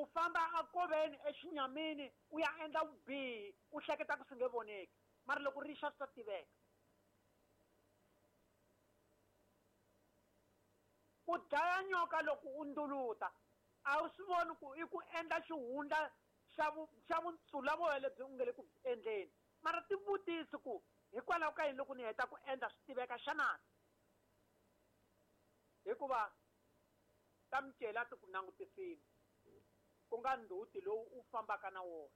U famba akoveni exinyamini u ya endla vubihi u hleketa ku swi nge voneki, mara loko ri xa swi ta tiveka. Ku dlaya nyoka loko u nduluta a wu swi voni ku i ku endla xihundla xa vunsulavoya lebyi u nge le ku endleni. Mara tivutisi ku hikwalaho ka yini loko ni heta ku endla swi tiveka xana? Hikuva ta micela ti ku langutisile, ku nga ndzhuti lowu u fambaka na wona.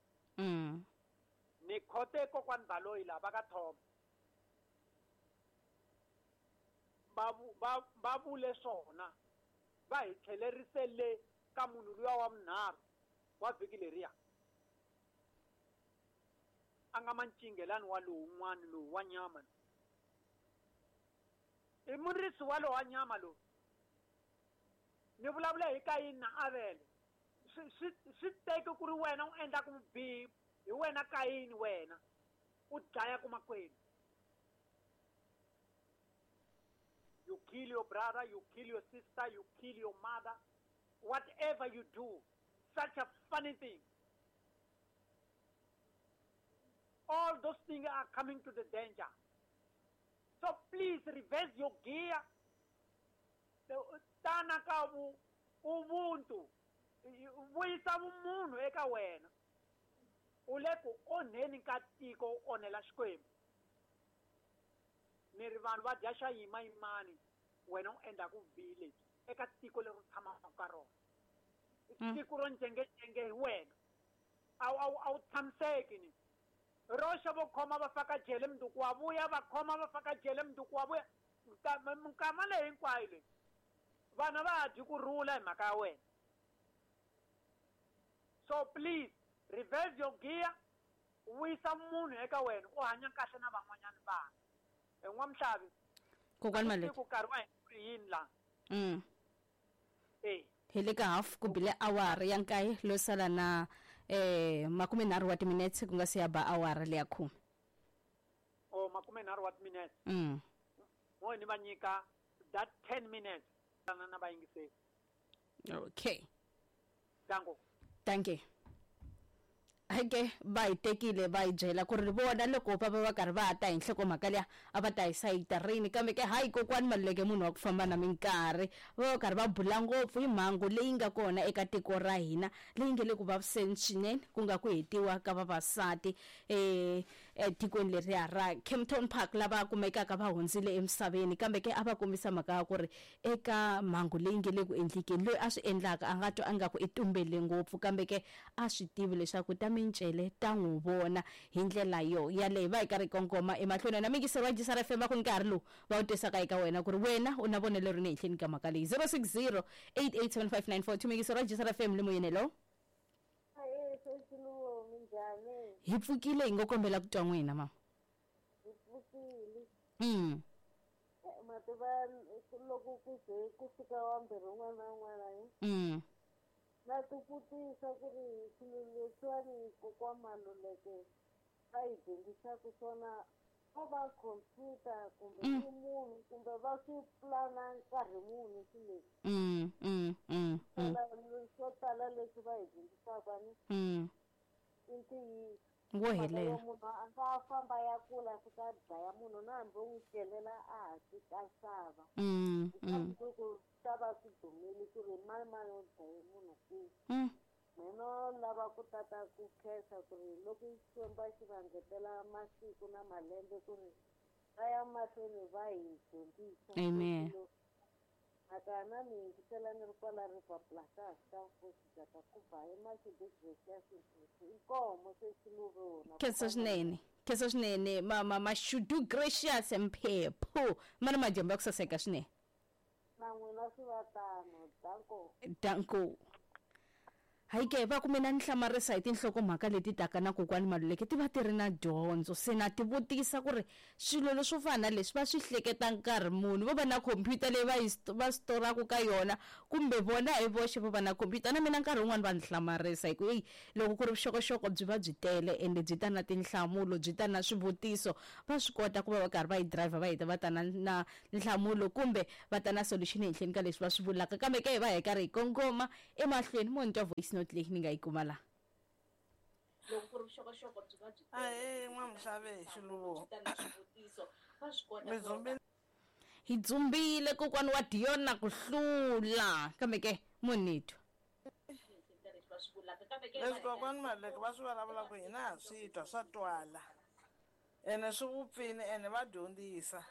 Ni khote kokwani Baloyi laha va ka Thoma. Va vule swona, va hi tlhelerise le ka munhu luya wa vunharhu wa vhiki leriya. A nga mancinghelani wa lowun'wana lowu wa nyama. I murisi wa lowa nyama lowu. Ni vulavula hi Kayini na Avele. Swi teki ku ri wena u endlaka vubihi, hi wena Kayini wena u dlayaka makwenu. You kill your brother, you kill your sister, you kill your mother. Whatever you do, such a funny thing. All those things are coming to the danger. So please reverse your gear. Tana ka ubuntu, vuyisa vumunhu eka wena. U le ku onheni ka tiko, u onhela Xikwembu. Ni ri vanhu va dya xa yimayimani, wena u endla ku vubihi lebyi eka tiko leri u tshamaka ka rona. Tiko ro njhengenjhenge hi wena. A wu tshamiseki ni. Roxa vo khoma va faka jele mundzuku wa vuya, va khoma va faka jele mundzuku wa vuya. Minkama leyi hinkwayo leyi vana va ha dyi ku rhula hi mhaka ya wena. So please reverse your gear, vuyisa munhu eka wena, u hanya kahle na van'wanyana vanhu. N'wamuhlavi, Kokwani Maluleke. Ku nkarhi wa hina ku ri yini laha? Hi le ka half ku bile awara ya 9 lo sala na 30 wa timinetse ku nga se ya ba awara leya 10. Oh, 30 wa timinetse. Mo ni va nyika that 10 minutes na va yingiseli. Okay. Danko. Thank you. Ake va hi tekile va hi byela ku ri vona loko va va va karhi va ta hi nhlokomhaka liya a va ta hi sayita rini, kambe ke hayi kokwani Maluleke munhu wa ku famba na minkarhi va va karhi va bula ngopfu hi mhangu leyi nga kona eka tiko ra hina leyi nge le ku vaviseni swinene, ku nga ku hetiwa ka vavasati etikweni leriya ra Kempton Park lava kumekaka va hundzile emisaveni. Kambe ke a va kombisa mhaka ya ku ri eka mhangu leyi nge le ku endlekeni loyi a swi endlaka a nga twa ingaku i tumbele ngopfu, kambe ke a swi tivi leswaku ta mincele ta n'wi vona hi ndlela yo yaleyo. Va hi karhi kongoma emahlweni na mingiseri wa Gisara FM va ku nkarhi lowu va wu tisaka eka wena ku ri wena u na vonelo rini ehenhleni ka mhaka leyi. 060-887-5942 mingiseri wa Gisara FM le moyeni. Hello. Hi pfukile, hi ngo kombela ku twa n'wina mama. Hi pfukile. Mativa loko ku ze ku fika wa mbirhi un'wana na un'wana hi. Na tivutisa ku ri swilo leswiwani kokwa Maluleke va hi dyondzisaka swona ko va computer kumbe i munhu kumbe va swi plana nkarhi muni swilo leswi. Swo tala leswi va hi dyondzisaka ni i ntiyiso. Wo helela. Munhu a nga famba ya kula fika dlaya munhu na hambi u n'wi celela a hansi ka sava. Ku ta va swi dumile ku ri mani mani u dlaye munhu kwihi. Mina lava ku tata ku khensa ku ri loko Xikwembu xi va ngetela masiku na malembe ku ri va ya mahlweni va hi dyondzisa. Amen. Mhaka ni yingisela ni ri kwala River Plaza ka Nkosi ka ku ba hi Mashudu Gracious inkomo se xiluvona. Khensa swinene. Khensa swinene mama Mashudu Gracious Mphephu. Mana madyambu ya ku saseka swinene. Na n'wina swi va tano. Danko. Danko. Hayi ke va ku mina ni hlamarisa hi tinhlokomhaka leti taka na kokwani Maluleke ti va ti ri na dyondzo, se na ti vutisa ku ri swilo leswo fana na leswi va swi hleketa nkarhi muni, vo va na computer leyi va storaka ka yona kumbe vona hi voxe vo va na computer. Na mina nkarhi wun'wani va ni hlamarisa hi ku eyi loko ku ri vuxokoxoko byi va byi tele ende byi ta na tinhlamulo, byi ta na swivutiso, va swi kota ku va va karhi va yi driver va heta va ta na nhlamulo kumbe va ta na solution ehenhleni ka leswi va swi vulaka. Kambe ke hi va hi karhi hi kongoma emahlweni mo ni twa voice voice note leyi ni nga yi kuma laha. Loko ku ri vuxokoxoko byi va byi Ahee, n'wamuxave xiluvo. Mi hi dzumbile kokwani wa Dion na ku hlula, kambe ke munitwa leswi kokwani Maluleke va swi vulavulaka hina ha swi twa, swa twala ene swi vupfini ene va dyondzisa.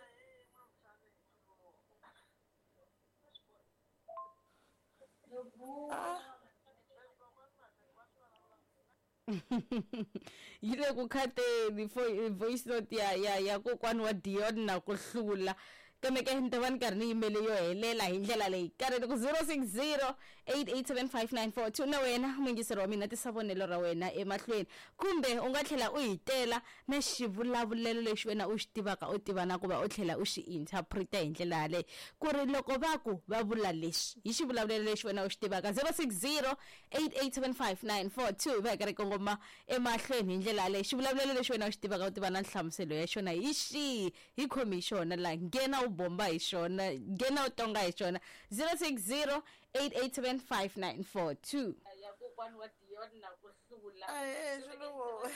Yi le ku khateni voice note ya kokwani wa Dion na ku hlula, kambe ke ni ta va ni karhi ni yimele yo helela hi ndlela leyi. Karhi ni ku 0608875942 na wena muyingiseri wa mina, tisa vonelo ra wena emahlweni, kumbe u nga tlhela u hi tela na xivulavulelo lexi wena u xi tivaka, u tiva na ku va u tlhela u xi interpreta hi ndlela yaleyo, ku ri loko va ku va vula leswi hi xivulavulelo lexi wena u xi tivaka. 0608875942 va hi karhi kongoma emahlweni hi ndlela yaleyo. Xivulavulelo lexi wena u xi tivaka, u tiva na nhlamuselo ya xona hi xihi, hi khomi hi xona laha, nghena u bomba hi xona, nghena u tonga hi xona. 0608875942 ya kokwani wa Dion na ku hlula. Ahee xiluvo,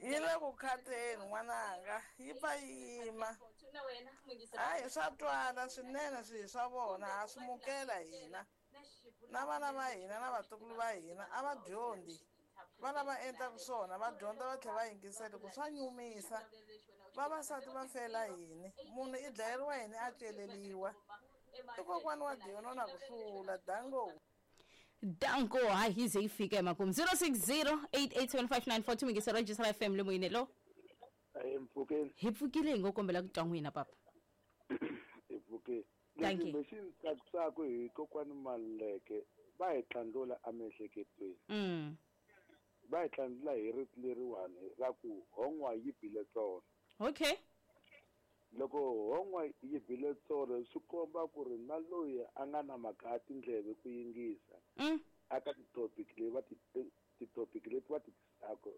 yi le ku khateni n'wananga, yi pfa yima. Hayi, swa twala swinene swihi swa vona, ha swi mukela hina na vana va hina na vatukulu va hina. A va dyondzi, va lava endlaka swona va dyondza va tlhela va yingisela ku swa nyumisa. Vavasati va fela yini? Munhu i dlayeriwa yini a celeliwa? I kokwani wa Dion na ku hlula. Dango. Danko. Hayi, yi ze yi fika emakumu. 0608875942 muyingiseri wa Jisara FM le moyeni, hello. Ahee, mpfukeni. Hi pfukile, hi ngo kombela ku twa n'wina papa. Hi pfukile. Thank you. Lexi lexi ni tsakisaka hi kokwani Maluleke, va hi tlandlula emiehleketweni. Va hi tlandlula hi rito leriwani ra ku hon'wa yi bile tsolo. Loko hon'wa yi bile tsolo, swi komba ku ri na loyi a nga na mhaka ya tindleve ku yingisa aka ti-topic leyi va ti ti-topic leti va ti tisaka,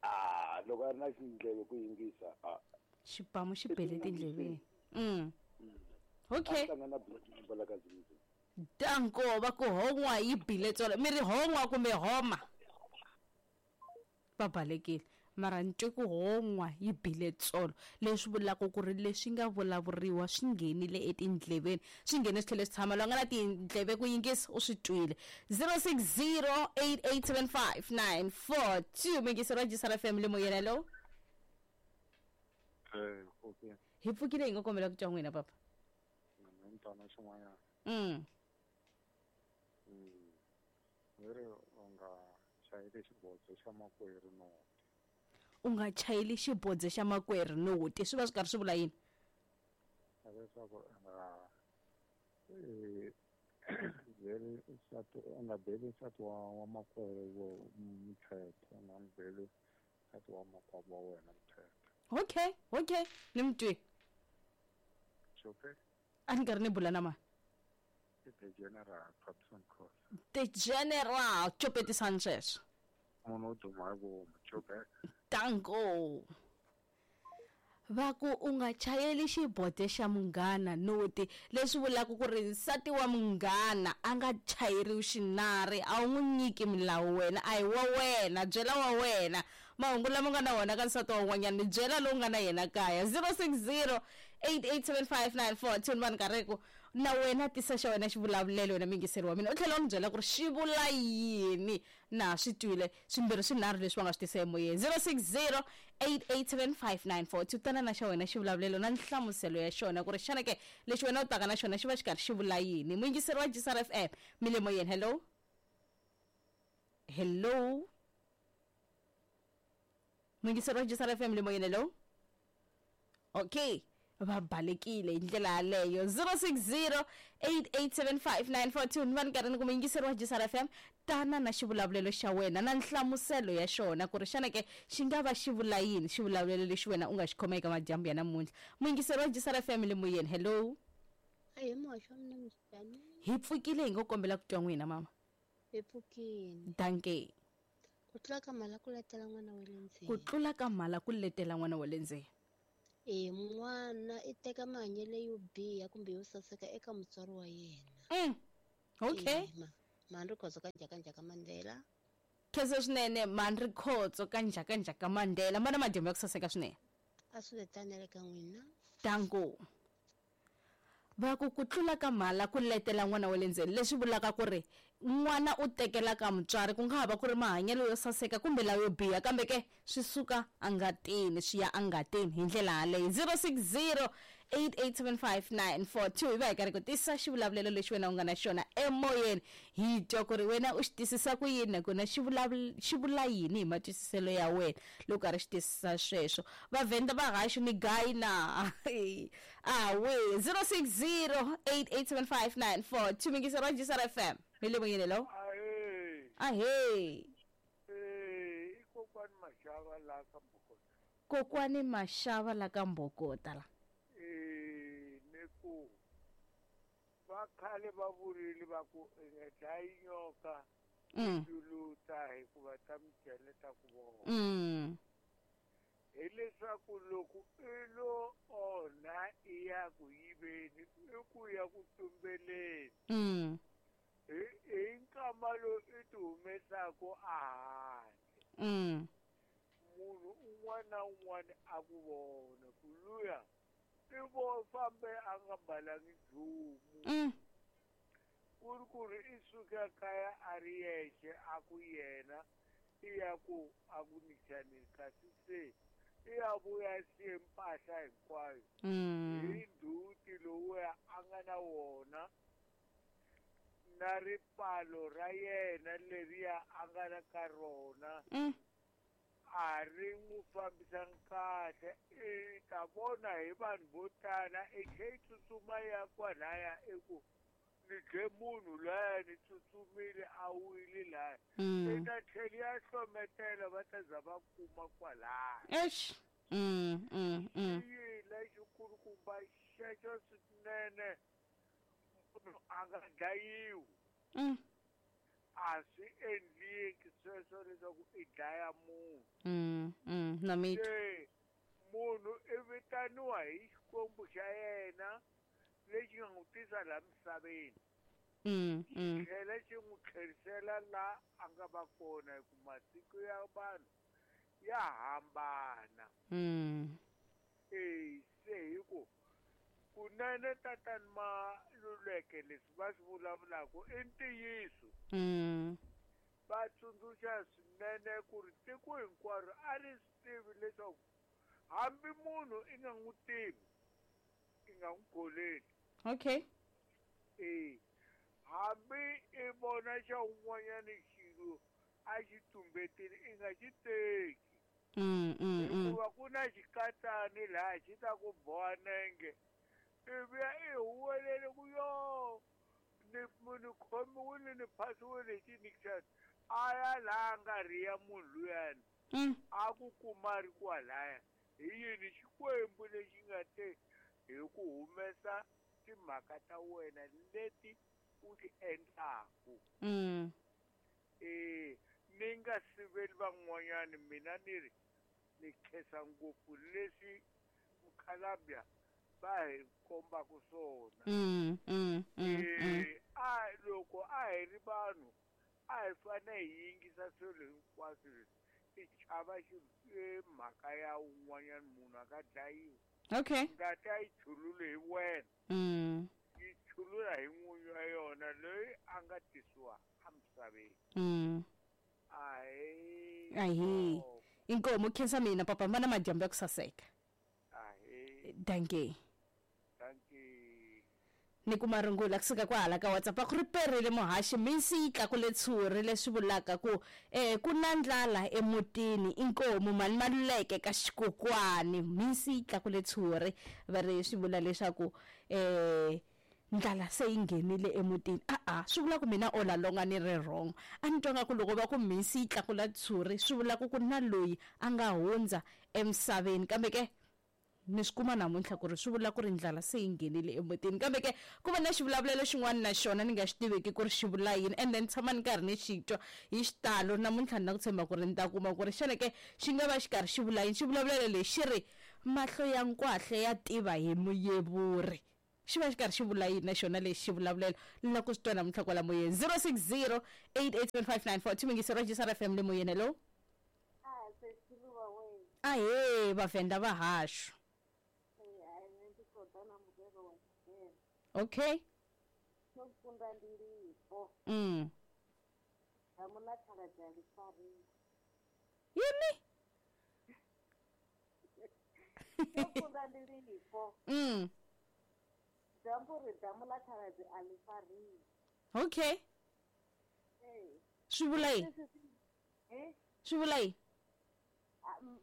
a loko a ri na xindleve ku yingisa, a xibamu xi bele tindleveni. A tlanga na Black Mamba la ka Zimzim. Danko. Va ku hon'wa yi bile tsolo, mi ri hon'wa kumbe homa? Va balekile, mara ni twe ku hon'wa yi bile tsolo, leswi vulaka ku ri leswi nga vulavuriwa swi nghenile etindleveni, swi nghene swi tlhele swi tshama. Loyi a nga na tindleve ku yingisa u swi twile. 0608875942 muyingiseri wa Jisara FM le moyeni, hello. Okay. Hi pfukile, hi nga kombela ku twa n'wina papa. Mina mntwana xin'wanyana. Ve ri u nga chayeli xibodzo xa makwerhu noti. U nga chayeli xibodzo xa makwerhu noti, swi va swi karhi swi vula yini? Leswaku u nga byeli nsati, u nga beli nsati wa makwerhu wo muthetho, u nga n'wi beli nsati wa makwavo wa wena muthetho. Okay, ni mi twi. Okay. A ni karhi ni bula na mani? I the General Thompson Cross. The General chopetisani sweswo. Munhu wo duma hi vomu chopet. Danko. Va ku u nga chayeli xibode xa munghana noti, leswi vulaka ku ri nsati wa munghana a nga chayeriwi xinari, a wu n'wi nyiki milawu wena, a hi wa wena, byela wa wena mahungu lama nga na wona ka nsati wa un'wanyana, ni byela lowu nga na yena kaya. 0608875942 ni va ni karhi ku na wena tisa xa wena xivulavulelo, wena muyingiseri wa mina, u tlhela u ni byela ku ri xi vula yini. Na swi twile swimbirhi swinharhu leswi va nga swi tisa emoyeni. 0608875942 tana na xa wena xivulavulelo na nhlamuselo ya xona, ku ri xana ke lexi wena u taka na xona xi va xi karhi xi vula yini. Muyingiseri wa Jisara FM mi le moyeni, hello. Hello, muyingiseri wa Jisara FM le moyeni, hello. Okay, va balekile hi ndlela yaleyo. 0608875942 ni va ni karhi ni ku muyingiseri wa Jisara FM, tana na xivulavulelo xa wena na nhlamuselo ya xona, ku ri xana ke xi nga va xi vula yini xivulavulelo lexi wena u nga xi khoma eka madyambu ya namuntlha. Muyingiseri wa Jisara FM le moyeni, hello. Ahee, muhaxi wa mina, minjhani? Hi pfukile, hi ngo kombela ku twa n'wina mama. Hi pfukile. Danke. Ku tlula ka mhala ku letela n'wana wa le ndzeni. Ku tlula ka mhala ku letela n'wana wa le ndzeni. E n'wana i teka mahanyelo yo biha kumbe yo saseka eka mutswari wa yena. Okay. Mhani Rikhotso ka Njhakanjhaka Mandela. Khensa swinene Mhani Rikhotso ka Njhakanjhaka Mandela. Mana madyambu ya ku saseka swinene. A swi ve tano na le ka n'wina. Danko. Va ku ku tlula ka mhala ku letela n'wana wa le ndzeni, leswi vulaka ku ri n'wana u tekela ka mutswari, ku nga ha va ku ri mahanyelo yo saseka kumbe layo biha, kambe ke swi suka engatini swi ya engatini hi ndlela yaleyo. 060 8875942 hi va hi karhi ku tisa xivulavulelo lexi wena u nga na xona emoyeni hi twa ku ri wena u xi twisisa ku yini nakona xi xi vula yini hi matwisiselo ya wena loko karhi xi twisisa sweswo vavhenda va haxu ni gayi na awe 060 8875942 mingisero wa Gisara FM mi le moyeni lo ahee kokwani Mashava la ka Mbokota. Kokwani Mashava la ka Mbokota la. Ni ku va khale va vurile va ku i nga dlayi nyoka juluta hikuva ta micele ta ku vona. Hileswaku loko i lo onha i ya ku yiveni i ku ya ku tumbeleni. Hi nkama lowu i ti humesaku a handle. Munhu un'wana na un'wana a ku vona ku luya i vo fambe a nga mbalangi nchumu. Ku ri ku ri i suka kaya a ri yexe a ku yena i ya ku a ku nichaneni kasi se i ya vuya siye mpahla hinkwayo hi ndzhuti lowuya a nga na wona na ripfalo ra yena leriya a nga na ka rona a ri n'wi fambisanga kahle. I ta vona hi vanhu vo tala i tlhe i tsutsuma ya kwalaya i ku ni dle munhu laya ni tsutsumile a wile laya i ta tlhela ya hlometela va ta za va kuma kwalaya. Eish. I yini lexikulukumba xexo swinene munhu a nga dlayiwi. A swi endleki sweswo leswaku i dlaya munhu. Na mi twa. Se munhu i vitaniwa hi Xikwembu xa yena lexi nga n'wi tisa laha misaveni. Xi tlhela xi n'wi tlherisela laha a nga va kona hi ku masiku ya vanhu ya hambana. Se hi ku kunene tatani Maluleke leswi va swi vulavulaka i ntiyiso. Va tsundzuxa swinene ku ri tiko hinkwaro a ri swi tivi leswaku hambi munhu i nga n'wi tivi i nga n'wi kholeli. Okay. Hambi i vona xa un'wanyana xilo a xi tumbetile i nga xi teki. Hikuva ku na xikatsani laha xi ta ku boha nenge i vuya i huwelele ku yo ni ni khomiwile ni phasiwile hi xinikixani a ya laha nga riya munhu luyani a ku kuma ri kwalaya hi yini Xikwembu lexi nga te hi ku humesa timhaka ta wena leti u ti endlaku. Ni nga siveli van'wanyani mina ni ri ni khensa ngopfu leswi mukhalabya va hi kombaka swona. A loko a hi ri vanhu a hi fanele hi yingisa swilo hinkwaswo leswi i chava mhaka ya un'wanyana munhu a nga dlayiwi. Okay. Ngati a yi chululi hi wena. Yi chulula hi n'winyi wa yona loyi a nga tisiwa emisaveni. Ahee. Ahee. Inkomu khensa mina papa mana madyambu ya ku saseka. Ahee. Dankie. Dankie. Ni kuma rungula kusuka kwahala ka WhatsApp a ku ri perile muhaxi misi yi tlakule tshuri leswi vulaka ku ku na ndlala emutini inkomu mali Maluleke ka xikokwani misi yi tlakule tshuri va ri swi vula leswaku ndlala se yi nghenile emutini. A swi vula ku mina all along a ni ri wrong. A ni twa nga ku loko va ku misi yi tlakula tshuri swi vula ku ku na loyi a nga hundza emisaveni kambe ke ni swi kuma namuntlha ku ri swi vula ku ri ndlala se yi nghenile emutini. Kambe ke ku va na xivulavulelo xin'wana na xona ni nga xi tiveki ku ri xi vula yini and then tshama ni karhi ni xi twa hi xitalo namuntlha ni na ku tshemba ku ri ni ta kuma ku ri xana ke xi nga va xi karhi xi vula yini. Xivulavulelo lexi xi ri mahlo ya nkwahle ya tiva hi muyevuri. Xi va xi karhi xi vula yini na xona lexi xi vulavulela la ku swi twa namuntlha kwala moyeni? 060 8875942 mingisero wa GCR FM le moyeni. Hello. Ahee, Vavhenda va hashu. Okay. Yini? Okay. Swi vula yini? Swi vula yini?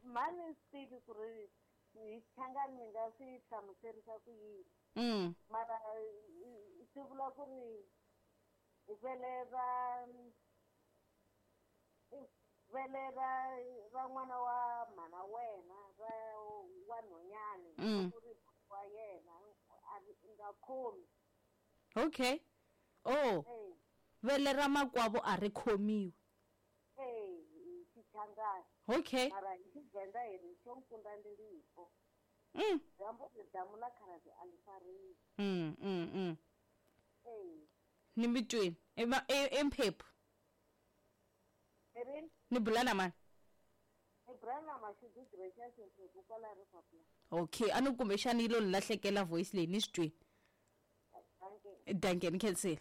Mani swi tivi ku ri hi Xichangani mi nga swi hlamuserisa ku yini. Mara swi vula ku ri vele ra ra n'wana wa mhana wena ra wa nhonyani ku ri wa yena a nga khomi. Okay. Oh. Vele ra makwavo a ri khomiwi. Xichangani. Okay. Mara hi Xivhenda hi ri xo nkunda ndi lipo. Damu la khaladzi a li fariwi. Ni mi twini. Emphephu. Ni bula na mani? Ni bula na Mashudu Gracious Mphephu kwala Riverblue. Okay, a ni kumbexani yi lo ni lahlekela voice leyi ni swi twini. Dankie, ni khensile.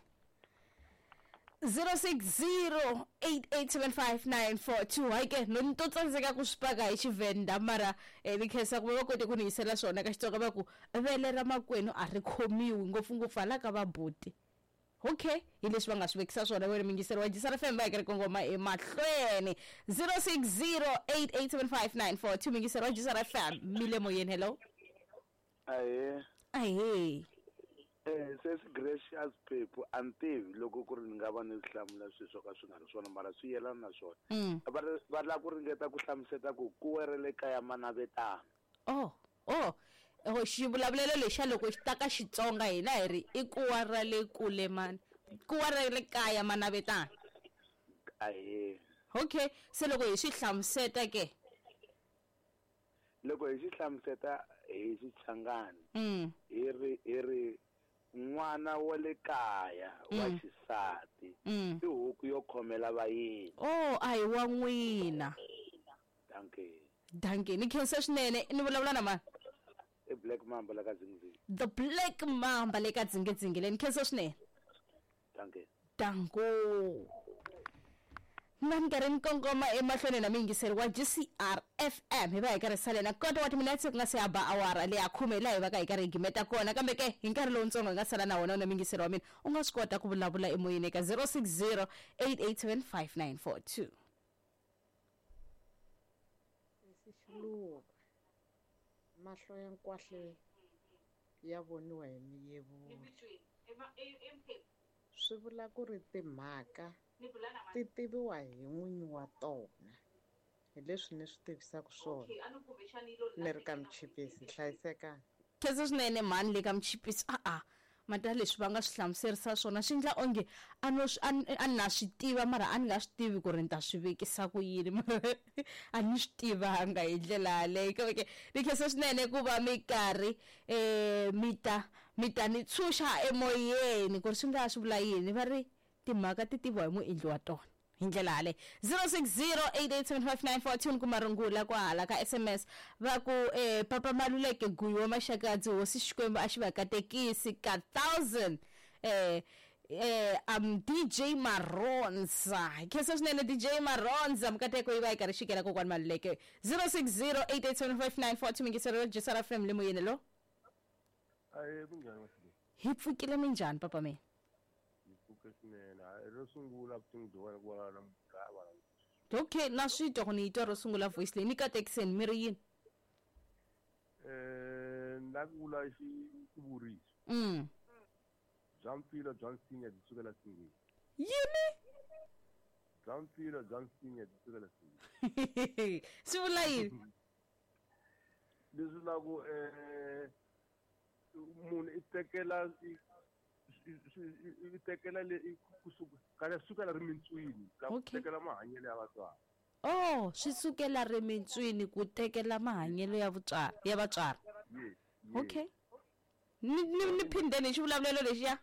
0608875942. Hayi ke no ni to tsandzeka ku swi paka hi Xivhenda mara ni khensa ku va kote ku ni yisela swona ka Xitsonga va ku vele ra makwenu a ri khomiwi ngopfungopfu hala ka vabuti. Okay, hi leswi va nga swi vekisa swona wena mingiseri wa GCR FM va hi karhi kongoma emahlweni. 0608875942 mingiseri wa GCR FM mi le moyeni. Hello. Ahee. Ahee. Sesi Gracious Phephu a ni tivi loko ku ri ni nga va ni hlamula swilo swo ka swi nga ri swona mara swi yelana na swona. Va lava ku ringeta ku hlamuseta ku ku werele kaya manavetana. Oh, xivulavulelo lexa loko xi ta ka Xitsonga hina hi ri i kuwa ra le kule mani, kuwa ra le kaya manavetana. Ahee. Okay, se loko hi swi hlamuseta ke? Loko hi swi hlamuseta hi Xichangani hi ri n'wana wa le kaya wa xisati i huku yo khomela vayeni. Oh, a hi wa n'wina. Dankie. Dankie, ni khensa swinene. Ni vulavula na mani? I Black Mamba la ka Dzingidzingi. The Black Mamba le ka Dzingidzingi le, ni khensa swinene. Dankie. Danko. Na ni karhi ni kongoma emahlweni na miyingiseri wa GCR FM hi va hi karhi salela kota wa timinetse ku nga se ya ba awara leya khume laha hi va ka hi karhi hi gimeta kona kambe ke hi nkarhi lowutsongo hi nga sala na wona na miyingiseri wa mina u nga swi kota ku vulavula emoyeni eka 060 887 5942. Xiluva mahlo ya nkwahle ya voniwa hi miyevulo. Swi vula ku ri timhaka ti tiviwa hi n'winyi wa tona. Hi leswi ni swi tivisaka swona. Ni ri ka Mchipisi, hlayisekani. Khensa swinene mhani le ka Mchipisi. A-a mata leswi va nga swi hlamuserisa swona swi endla onge a no a na swi tiva mara a ni nga swi tivi ku ri ni ta swi vekisa ku yini mara a ni swi tivanga hi ndlela yaleyo. Kambe ke ni khensa swinene ku va mi karhi mi ta ni tshunxa emoyeni ku ri swi nga swi vula yini. Va ri timhaka ti tiviwa hi muendli wa tona hi ndlela yaleyo. 0608875942 kuma rungula kwahala ka SMS va ku Papa Maluleke Guyi wa Maxakadzi hosi Xikwembu a xi va katekisi ka 1000. DJ Maronza. Khensa swinene DJ Maronza, mukateko yi va yi karhi xikela kokwani Maluleke. 0608875942 mingisero ya GCR FM le moyeni lo. Aye, kunjani Masile? Hi pfukile minjhani papa mina? Okay, na swi twa ku ni yi twa ro sungula voice leyi ni katekiseni mi ri yini? Na ku vula xivuriso. Bya mpfilo bya nsinya byi sukela singeni. Yini? Bya mpfilo bya nsinya byi sukela singeni. Swi vula yini? Leswi la ku munhu i tekela i tekela le kusuka sukela rimintswini la ku tekela mahanyelo ya vatswari. Oh, swi sukela rimintswini ku tekela mahanyelo ya vatswari. Okay. Ni phindeni xivulavulelo lexiya.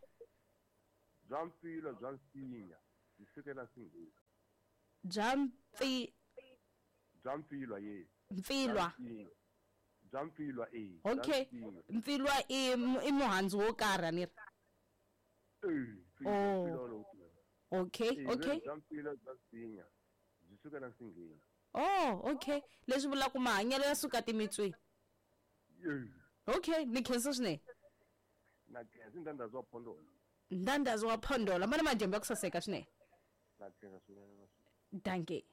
Bya mpfilwa bya nsinya byi sukela nsingheni. Bya mpfilwa ye. Mpfilwa. Bya mpfilwa e. Okay. Mpfilwa i muhandzu wo karhi ni ri. Oh. Okay, okay. Bya mpfilwa bya nsinya byi sukela nsingheni. Oh, okay. Leswi vula ku mahanyelo ya suka timitswini. Okay, ni khensa swinene. Na khensa Ndandazi wa Phondola. Ndandazi wa Phondola, mana madyambu ya ku saseka swinene. Na khensa swinene. Dankie.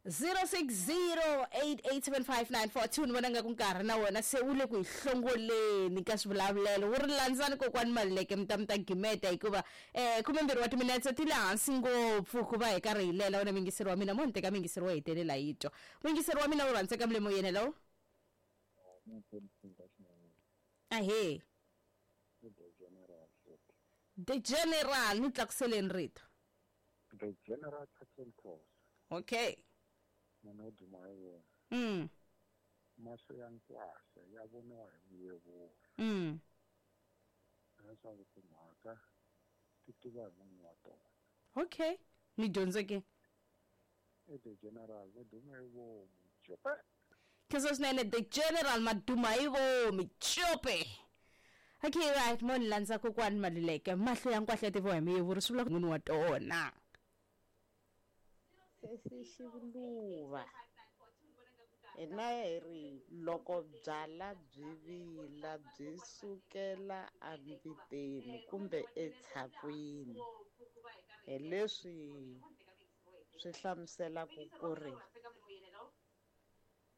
0608875942 ni vona nga ku nkarhi na wona se wu le ku hi hlongoleni ka swivulavulelo wu ri landzani kokwani Maluleke mi ta gimeta hikuva 12 wa timinetse ti le hansi ngopfu ku va hi karhi hi lela wena mingiseri wa mina mo ni teka mingiseri wo hetelela yi twa mingiseri wa mina wu rhandzeka mile hello. Ahee. The General ni tlakuseleni rito. The General Captain Cross. Okay. Munhu wo duma hi wona. Mahlo ya nkwahla ya voniwa hi muyevuri. Leswaku timhaka ti tiva hi n'winyi wa tona. Okay. Ni dyondzeke. I The General va duma hi vomu cope. Khensa swinene The General maduma hi vomu cope. Okay, right, mo ni landza kokwani Maluleke mahlo ya nkwahla ya tiviwa hi muyevuri swi vula n'wini wa tona. Sesi Xivuluva hina hi ri loko byala byi vila byi sukela embiteni kumbe etshakwini hi leswi swi hlamuselaka ku ri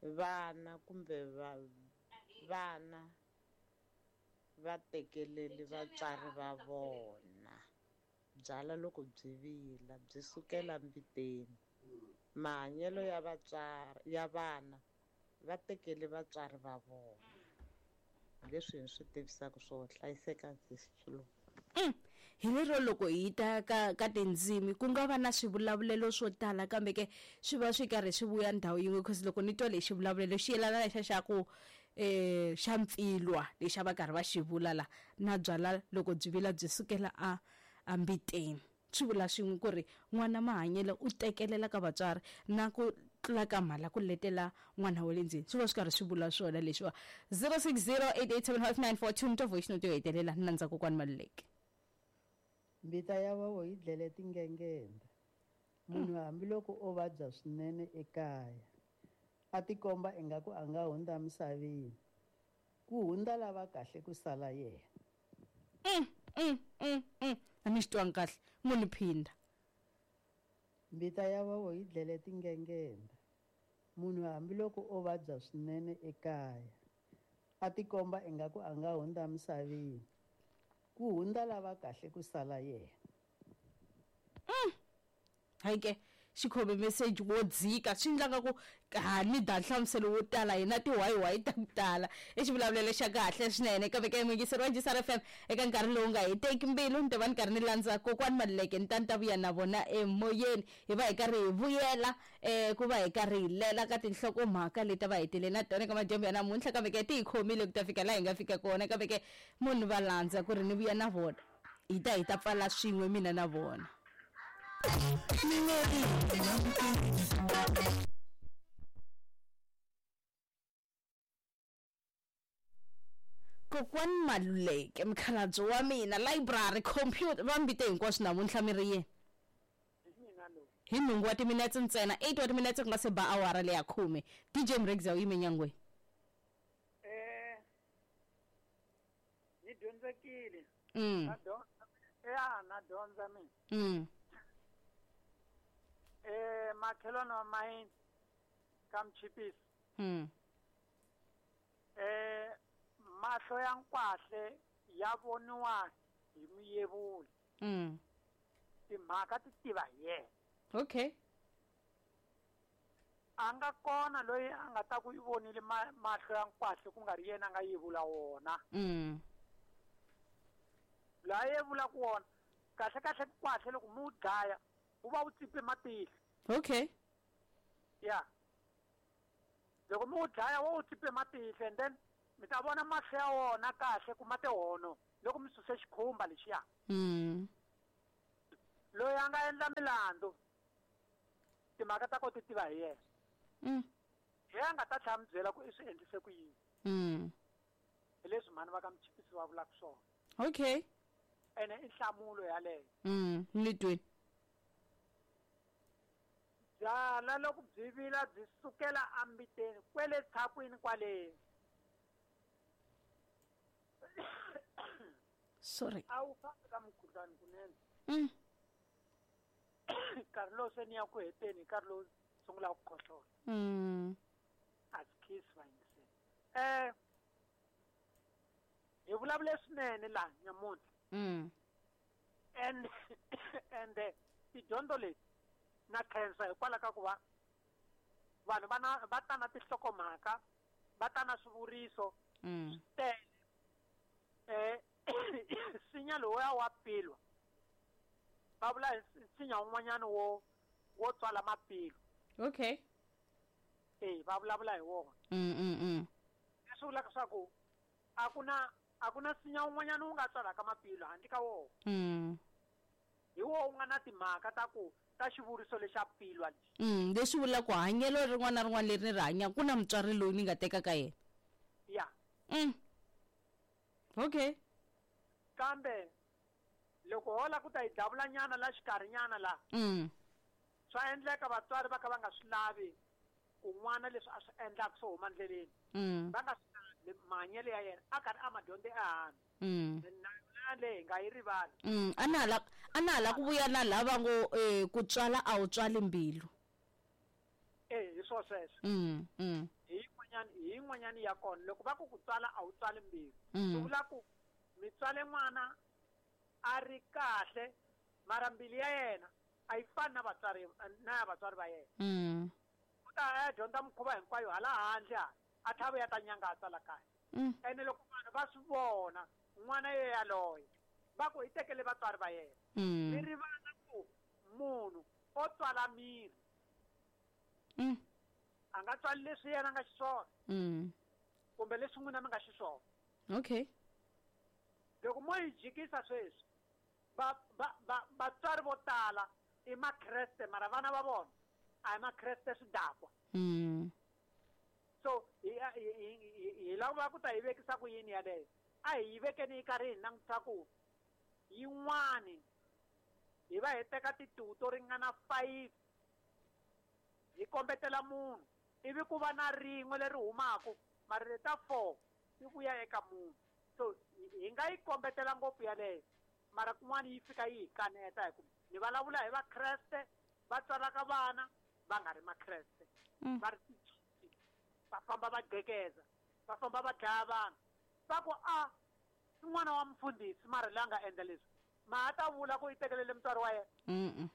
vana kumbe vana va tekeleli vatswari va vona. Byala loko byi vila byi sukela mbiteni. Mahanyelo ya vatswari ya vana va tekele vatswari va vona. Leswi hi swi tivisaka swo hlayiseka sesilo. Hi lero loko hi ta ka tindzimi ku nga va na swivulavulelo swo tala kambe ke swi va swi karhi swi vuya ndhawu yin'we because loko ni twa lexi vulavulelo xi yelana lexa xa ku xa mpfilwa lexi a va karhi va xi vula la na byala loko byi vila byi sukela a ambiteni swi vula swin'we ku ri n'wana mahanyelo u tekelela ka vatswari na ku tlula ka mhala ku letela n'wana wa le ndzeni swi va swi karhi swi vula swona leswiwa. 0608875942 ni twa voice note yo hetelela ni landza kokwani Maluleke. Mbita ya vovo yi dlele tingengenda. Munhu hambiloko o vabya swinene ekaya a tikomba ingaku a nga hundza misaveni ku hundza lava kahle ku sala yena. A ni xi twangi kahle munhu phinda. Mbita ya vovo yi dlele tingengenda. Munhu hambiloko o vabya swinene ekaya a tikomba ingaku a nga hundza misaveni ku hundza lava kahle ku sala yena. Hayi ke xikhome message wo dzika swi endlaka ku ha ni da nhlamuselo wo tala hina tiwayiwayi ta ku tala i xivulavulelo xa kahle swinene kambe ke muyingiseri wa Njisara FM eka nkarhi lowu nga heteki mbilu ni ta va ni karhi ni landza kokwani Maluleke ni ta ni ta vuya na vona emoyeni hi va hi karhi hi vuyela ku va hi karhi hi lela ka tinhlokomhaka leti va hetele na tona eka madyambu ya namuntlha kambe ke ti hi khomile ku ta fika laha hi nga fika kona kambe ke munhu va landza ku ri ni vuya na vona hi ta pfala swin'we mina na vona. Kokwani Maluleke mukhalabye wa mina library computer va mbite hinkwaswo namuntlha mi ri yini hi nhungu wa timinetse ntsena 8 wa timinetse ku nga se ba awara leya 10. DJ Mregza u yime nyangweni. Ni dyondzekile. Na dyondza mina. Makhelwane wa mayini ka Mchipisi. Mahlo ya nkwahle ya voniwa hi muyevuli. Timhaka ti tiva hi yena. Okay. A nga kona loyi a nga ta ku i vonile mahlo ya nkwahle ku nga ri yena a nga yevula wona. Laha yevula ku wona kahle kahle nkwahle loko mu dlaya wu va wu tsipe matihlo. Okay. Yeah. Loko mu dlaya wo wu tsipe matihlo and then Mi ta vona mahlo ya wona kahle ku ma tihono loko mi suse xikhumba lexiya. Loyi a nga endla milandzu timhaka ta ko ti tiva hi yena. Hi a nga ta tlhela mi byela ku i swi endlise ku yini. Hi leswi mhani va ka Muchipisi va vulaka swona. Okay. Ene i nhlamulo yaleyo. Ni twini. Byala loko byi vila byi sukela ambiteni kwele tshakwini kwale. Sorry. A wu fambi ka mukhuhlwani kunene. Nkarhi lowu se ni ya ku heteni, nkarhi lowu sungulaka ku khohlola. A swi khisi vayingiseri. Hi vulavule swinene laha nyamuntlha. And tidyondzo leti na khensa hikwalaho ka ku va vanhu va ta na tinhlokomhaka, va ta na swivuriso swi tele. Nsinya lowuya wa pilwa va vula hi nsinya wun'wanyana wo tswala mapilo. Okay. Va vulavula hi wona. Leswi vulaka swa ku a ku na nsinya wun'wanyana wu nga tswalaka mapilo handle ka wona. Hi wona wu nga na timhaka ta ku ta xivuriso lexa pilwa lexi. Leswi vulaka ku hanyelo rin'wana na rin'wana leri ni ri hanyaka ku na mutswari loyi ni nga teka ka yena. Ya. Okay. Kambe loko hola ku ta hi davula nyana la xikarhi nyana la. Swa endleka vatswari va ka va nga swi lavi ku n'wana leswi a swi endlaka swo huma ndleleni. Va nga swi lavi mahanyelo ya yena a karhi a ma dyondze ehansi. Na leyi hi nga yi rivali. A na hala ku vuya na lava ngo ku tswala a wu tswali mbilu. Hi swo sweswo. Hi yin'wanyana ya kona loko va ku ku tswala a wu tswali mbilu. Swi vula ku mi tswale n'wana a ri kahle mara mbilu ya yena a yi fani na vatswari na ya vatswari va yena. U ta ya dyondza mikhuva hinkwayo hala handle a tlhava ya ta nyangatsa la kaya. Ene loko vanhu va swi vona n'wana ye yaloye va ku hi tekele vatswari va yena. Mi rivala ku munhu o tswala miri. A nga tswali leswi yena a nga xiswona. Kumbe leswi n'wina mi nga xiswona. Okay. Loko mo yi jikisa sweswi vatswari vo tala i makreste mara vana va vona a hi makreste swidakwa. So hi lava ku ta yi vekisa ku yini yaleyo. A hi yi vekeni yi karhi hi langutisa ku yin'wani hi va hi teka tituwu to ringana 5 hi kombetela munhu ivi ku va na rin'we leri humaka mara leta 4 ti vuya eka munhu. So hi nga yi kombetela ngopfu yaleyo mara kun'wana yi fika yi hi kaneta hi ku ni vulavula hi vakreste va tswalaka vana va nga ri makreste. Va ri titsotsi va famba va gqekeza va famba va dlaya vanhu va ku a i n'wana wa mufundhisi mara loyi a nga endla leswi ma ha ta vula ku i tekelele mutswari wa yena.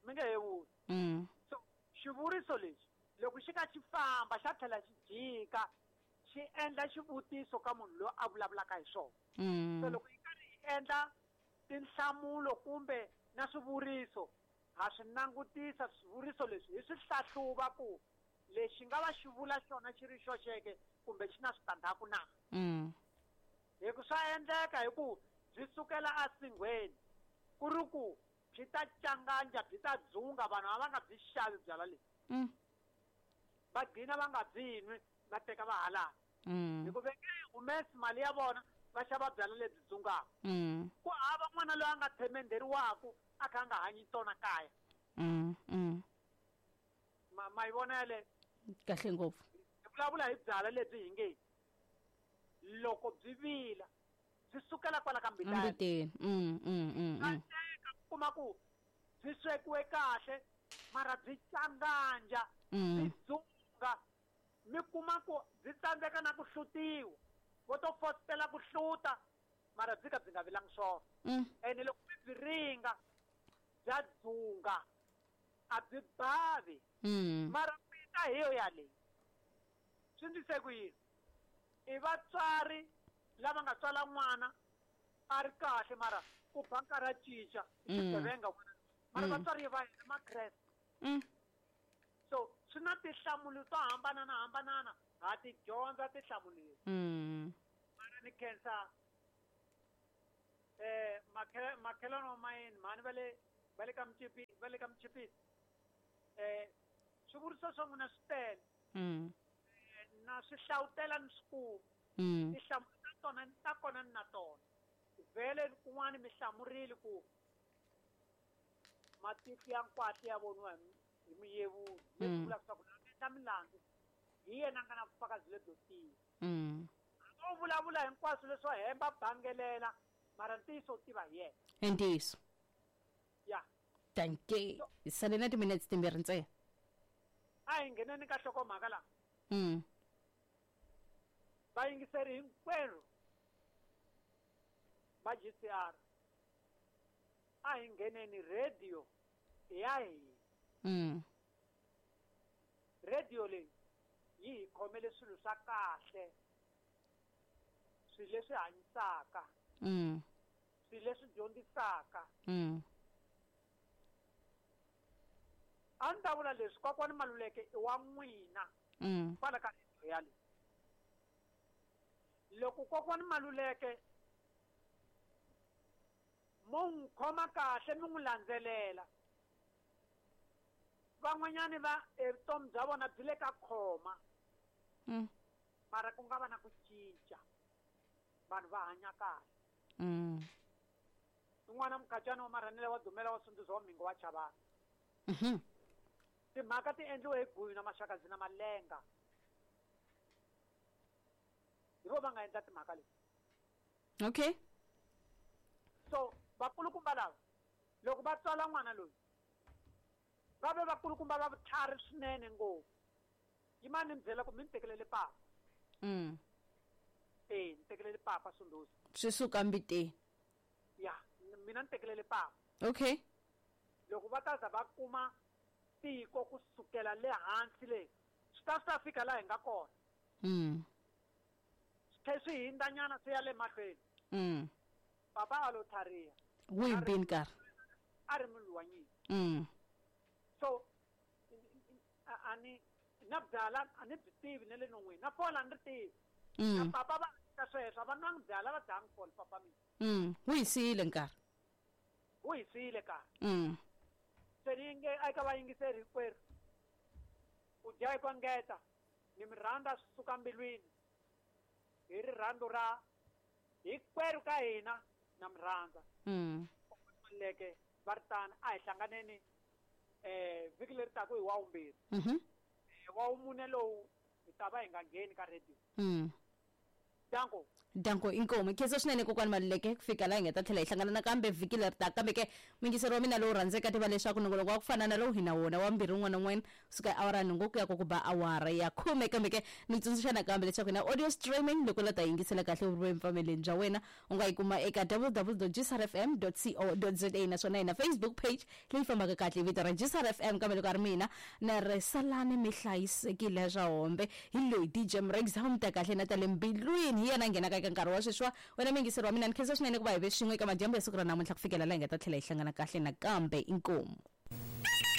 Mi nge he vuli. So xivuriso lexi loko xi ka xi famba xa tlhela xi jika xi endla xivutiso ka munhu loyi a vulavulaka hi swona. So loko yi karhi yi endla tinhlamulo kumbe na swivuriso ha swi langutisa swivuriso leswi hi swi hlahluva ku lexi nga va xi vula xona xi ri xoxeke kumbe xi na switandzhaku na. Hi ku swa endleka hi ku byi sukela esinghweni ku ri ku byi ta canganja byi ta dzunga vanhu a va nga byi xavi byala lebyi. Va gcina va nga byi nwi va teka va halala. Hi ku ve nge humesi mali ya vona va xava byala lebyi dzungaka. Ku hava n'wana loyi a nga themenderiwaku a kha a nga hanyi tona kaya. Ma yi vona yaleyo? Kahle ngopfu. Hi vulavula hi byala lebyi hi nge loko byi vila byi sukela kwala ka mbiteni. Kuma ku byi swekiwe kahle mara byi canganja byi dzunga mi kuma ku byi tsandzeka na ku hlutiwa vo to fositela ku hluta mara byi ka byi nga vilangi swona. Ene loko mi byi ringa bya dzunga a byi bavi. Mara mbita hi yo yaleyi swi ndlise ku yini? I vatswari lava nga tswala n'wana a ri kahle mara ku ba nkarhi a cinca i xigevenga n'wana mara vatswari va yena makreste. So Swi na tinhlamulo to hambanana ha ti dyondza tinhlamulo leti. Mara ni khensa makhelwani wa mayini mhani va le ka Mchipisi. Swivuriso swa n'wina swi tele. Na swi hlawutela ni swi kuma. Tinhlamulo ta tona ta kona ni na tona. Vhele kun'wana mi hlamurile ku matihlo ya nkwahla ya voniwa hi muyevuri. Leswi vulaka swa ku na endla milandzu hi yena a nga na vufakazi lebyo tiya. A wu vulavula hinkwaswo leswo hemba bangelela mara ntiyiso u tiva hi yena. Ntiyiso. Ya. Thank you. Hi sale na timinetse timbirhi ntsena. A hi ngheneni ka nhlokomhaka laha. Vayingiseri hinkwerhu va GCR a hi ngheneni radio ya hina. Radio leyi yi hi khomele swilo swa kahle, swilo leswi hanyisaka, swilo leswi dyondzisaka. A ndzi ta vula leswi kokwani Maluleke i wa n'wina kwala ka radio ya leyi. Loko kokwani Maluleke mo n'wi khoma kahle mi n'wi landzelela, van'wanyani va evutomi bya vona byi le ka khoma. Mara ku nga va na ku cinca, vanhu va hanya kahle. Un'wana mukhacani wa Marhanele wa Dumela wa Sunduza wa Mhingo wa Chavani. Timhaka ti endliwe hi Guyu na Maxakadzi na Malenga. Hi vo va nga endla timhaka leti. Okay. So vakulukumba lava loko va tswala n'wana loyi va ve vakulukumba va vutlhari swinene ngopfu. Yimani ni byela ku mi ni tekelele papa. Ni tekelele papa Sunduza. Swi suka mbiteni. Ya, mina ni tekelele papa. Okay. Loko va ta za va kuma tiko kusukela le hansi le swi ta fika laha hi nga kona. Swi tlhela swi hindzanyana swi ya le mahlweni. Papa a lo tlhariha. Wu hi nkarhi. A ri munhu wa nyimpi. So a ni na byala a ni byi tivi na le non'wini na fola a ni ri tivi. Na papa va ka sweswo a va nwangi byala va dyangi fola papa mina. Wu hi siyile nkarhi. Wu hi siyile nkarhi. Se ni nge eka vayingiseri hinkwerhu ku dya hi ku engeta ni mi rhandza swi suka mbilwini hi rirhandzu ra hinkwerhu ka hina na mi rhandza. Leke va ri tani a hi hlanganeni vhiki leri taka hi wa vumbirhi. Wa vumune lowu hi ta va hi nga ngheni ka radio. Danko. Danko inkomu. Khensa swinene kokwani Maluleke ku fika laha hi nga ta tlhela hi hlangana nakambe vhiki leri taka. Kambe ke muyingiseri wa mina lowu rhandzeka tiva leswaku nongoloko wa ku fana na lowu hi na wona wa mbirhi wun'wana na wun'wana kusuka awara nhungu ku ya ku ba awara ya 10. Kambe ke ni tsundzuxa nakambe leswaku na audio streaming loko la ta yingisela kahle u ri emfameleni bya wena u nga yi kuma eka www.gsrfm.co.za naswona hi na Facebook page leyi fambaka kahle vito ra GCRFM. Kambe loko a ri mina na ri salani mi hlayisekile swa hombe hi loyi DJ Mrex mi ta kahle na ta le mbilwini hi yena nghenaka eka nkarhi wa sweswiwa. Wena muyingiseri wa mina ni khensa swinene ku va hi ve swin'we eka madyambu ya siku ra namuntlha ku fikela laha hi nga ta tlhela hi hlangana kahle nakambe. Inkomu.